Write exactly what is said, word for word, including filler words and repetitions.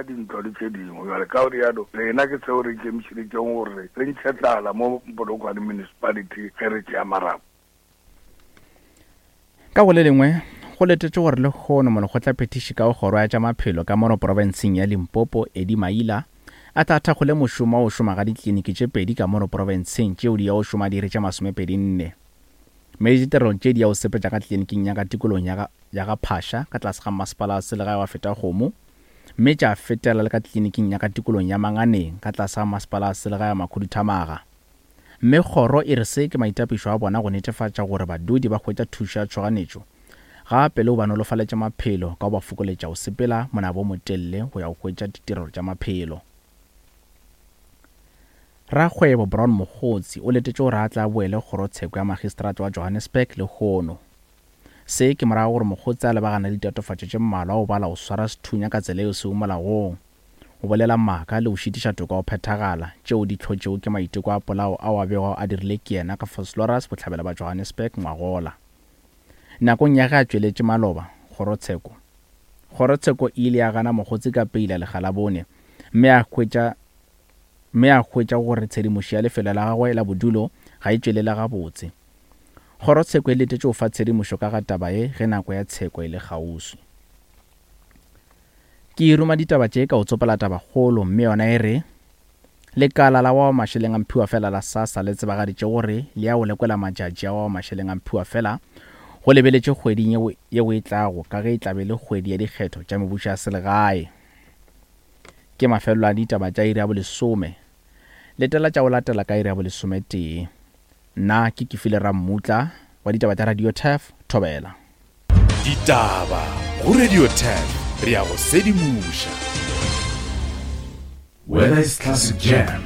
Dintlo le tše dingwe. Bjale ka go rialo, rena ke seo re ikemišeditšego gore re ntšhe tlala mo Polokwane Municipality ge re tšea marapo. Ka go le lengwe, go letetšwe gore lehono molekgotlaphethiši ka go kgoro ya tša maphelo ka mono profenseng ya Limpopo, Eddie Maila, a tla thakgole mošomo wa go šoma ga dikliniki tše pedi ka mono profenseng tšeo di ya go šoma diiri tše masomepedi nne. Mme ditirelo tše di ya go sepetša ka kliniking ya ka tikolong ya ga, ya ga Phasha ka tlase ga masepala wa selegae wa Fetakgomo, mme tša fetela le ka kliniking ya ka tikolong ya Manganeng ka tlase ga masepala wa selegae wa Makhuduthamaga. Mme kgoro e re se ke maitapišo a bona go netefatša gore badudi ba hwetša thušo ya tšhoganetšo, gape le go ba nolofaletša maphelo ka go ba fokoletša go sepela monabo o motelele go ya go hwetša ditirelo tša maphelo. Rakgwebo Brown Mogotsi o letetše gore a tla boele kgorotsheko ya magistrata wa Johannesburg lehono. Se ke morago gore Mogotsi a lebagane le ditatofatšo tše mmalwa go bala go swara sethunya ka tsela yeo sego molaong, go bolela maaka le go šitiša toka go phethagala, tšeo di hlotšego ke maiteko a polao ao a bego a dirile ke yena ka Vosloorus bohlabela ba Johannesburg ngwagola. Nakong ya ge a tšweletše maloba kgorotsheko, kgorotsheko e ile ya gana Mogotsi ka peila lekga la bone mme a hwetša mme a hwetša gore tshedimošo ya lefelo la gagwe la bodulo ga e tšwelele gabotse. Kgorotsheko e letetše go fa tshedimošo ka ga taba ye ge nako ya tsheko e le kgauswi. Ke ruma ditaba tše ka go tsopola tabakgolo mme yona e re lekala la wa mašeleng a mphiwa fela la SASSA le tsebagaditše gore le ya go lekola matšatši a wa mašeleng a mphiwa fela go lebeletše kgweding yeo yeo e tlago ka ge e tla be le kgwedi ya dikgetho tša mebušo ya selegae. Ke mafelelo a ditaba tša iri ya bolesome. Letela tša go latela ka iri ya bolesometee. Nna ke Kefile Rammutla wa ditaba tša Radio Turf, Thobela. Ditaba go Radio Turf, re ya go sedimoša. Whether it's classic jam